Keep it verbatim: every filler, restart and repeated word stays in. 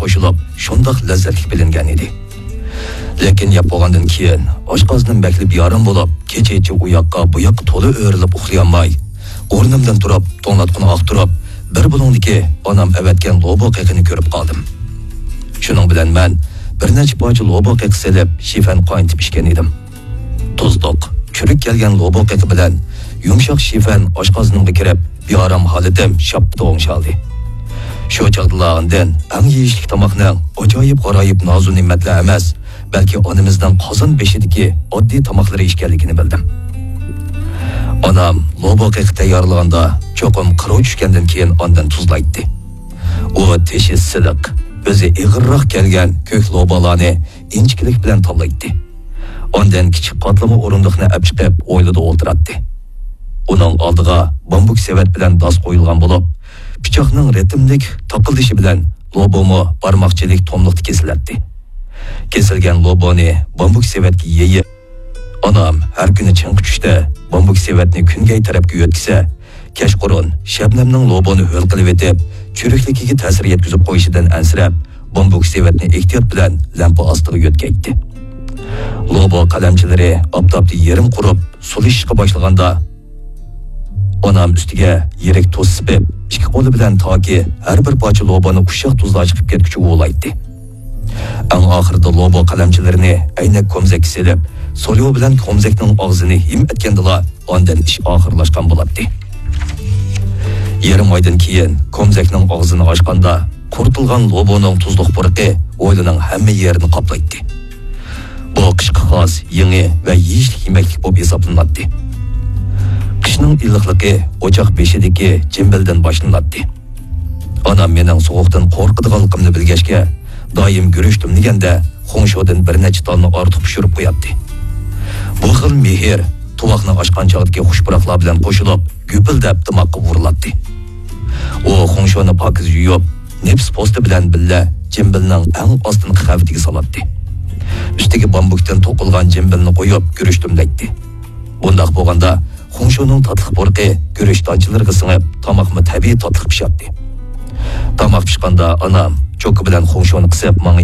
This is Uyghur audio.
قوشۇلۇپ، شۇنداق لەززەتلىك بىلىنگەن ئىدى. لېكىن يەپ بولغاندىن كېيىن، ئاشقازىنىم بەكلا بىئارام بولۇپ، كېچىچە ئۇ ياققا، بۇ ياققا تولا ئۆرۈلۈپ ئۇخلىيالماي، ئورنۇمدىن تۇرۇپ، توڭلاتقۇنى ئاختۇرۇپ، بىر بۇلۇڭدىكى ئانام ئەۋەتكەن لوبۇ قېقىنى كۆرۈپ قالدىم. شۇنىڭ بىلەن مەن بىر نەچچە پارچە لوبۇ قېقى سېلىپ، شىفەن قاينىتىپ ئىچكەن ئىدىم. تۇزلۇق، چۈرۈك كەلگەن لوبۇ قېقى بىلەن يۇمشاق شىفەن ئاشقازىنىمغا كىرىپ، بىئارام ھالىتىم شاپتۇ ئوڭشالدى. شۇ چاغدىلا ئاندىن ئەڭ يېيىشلىك تاماقنىڭ ئاجايىپ غارايىپ نازۇ نېمەتلەر ئەمەس، بەلكى ئانىمىزنىڭ قازان بېشىدىكى ئاددىي تاماقلىرى ئىكەنلىكىنى بىلدىم. ئانام لوبۇ قېقى تەييارلىغاندا چوقۇم قىرىۋ چۈشكەندىن كېيىن ئاندىن تۇزلايتتى. ئۇ تېشى سىلىق، ئۆزى ئېغىرراق كەلگەن كۆك لوبالارنى ئىنچىكىلىك بىلەن تاللايتتى. ئاندىن كىچىك قاتلىما ئورۇندۇقنى ئەپ چىقىپ، ھويلىدا ئولتۇراتتى. ئۇنىڭ ئالدىغا بامبۇك سېۋەت بىلەن داس قويۇلغان بولۇپ، پىچاقنىڭ رىتىملىك تاقىلدىشى بىلەن لوبۇمۇ بارماقچىلىك توملۇقتا كېسىلەتتى. كېسىلگەن لوبۇنى بامبۇك سېۋەتكە يېيىپ، ئانام ھەر كۈنى چىڭقى چۈشتە بامبۇك سېۋەتنى كۈنگەي تەرەپكە يۆتكىسە، كەچقۇرۇن شەبنەمنىڭ لوبۇنى ھۆل قىلىۋېتىپ، چۈرۈكلۈكىگە تەسىر يەتكۈزۈپ قويۇشىدىن ئەنسىرەپ، بامبۇك سېۋەتنى ئېھتىيات بىلەن لەمپە ئاستىغا يۆتكەيتتى. لوبۇ قەلەمچىلىرى ئاپتاپتا يېرىم قۇرۇپ، سۇلىشىشقا باشلىغاندا، ئانام ئۈستىگە يىرىك تۇز سېپىپ، ئىككى قولى بىلەن تاكى ھەر بىر پارچە لوبۇنى ئۇششاق تۇزلار چىقىپ كەتكۈچە ئۇۋىلايتتى. ئەڭ ئاخىرىدا لوبۇ قەلەمچىلىرىنى ئەينەك كومزەككە سېلىپ، سوليو بىلەن كومزەكنىڭ ئاغزىنى ھىم ئەتكەندىلا، ئاندىن ئىش ئاخىرلاشقان بولاتتى. يېرىم ئايدىن كېيىن كومزەكنىڭ ئاغزىنى ئاچقاندا، قۇرۇتۇلغان لوبۇنىڭ تۇزلۇق پۇرىقى ھويلىنىڭ ھەممە يېرىنى قاپلايتتى. بۇ قىشقا خاس يېڭى ۋە يېيىشلىك يېمەكلىك بولۇپ ھېسابلىناتتى. قىشنىڭ ئىللىقلىقى ئوچاق بېشىدىكى جىمبىلدىن باشلىناتتى. ئانام مېنىڭ سوغۇقتىن قورقىدىغانلىقىمنى بىلگەچكە، دائىم گۈرۈچ دۈملىگەندە خۇڭشودىن بىر نەچچە تالنى ئارتۇق پىشۇرۇپ قوياتتى. بۇ خىل مېھىر تۇۋاقنى ئاچقان چاغدىكى خۇش پۇراقلار بىلەن قوشۇلۇپ، گۈپۈلدەپ دىماغقا ئۇرۇلاتتى. ئۇ خۇڭشونى پاكىز يۇيۇپ، نېپىز پوستى بىلەن بىللە جىمبىلنىڭ ئەڭ ئاستىنقى قەۋىتىگە سالاتتى. ئۈستىگە بامبۇكتىن توقۇلغان جىمبىلنى قويۇپ، گۈرۈچ دۈملەيتتى. بۇنداق بولغاندا، خۇڭشونىڭ تاتلىق پۇرىقى گۈرۈچ دانچىلىرىغا سىڭىپ، تاماقمۇ تەبىئىي تاتلىق پىشاتتى. تاماق پىشقاندا ئانام چوكا بىلەن خۇڭشونى قىسىپ ماڭا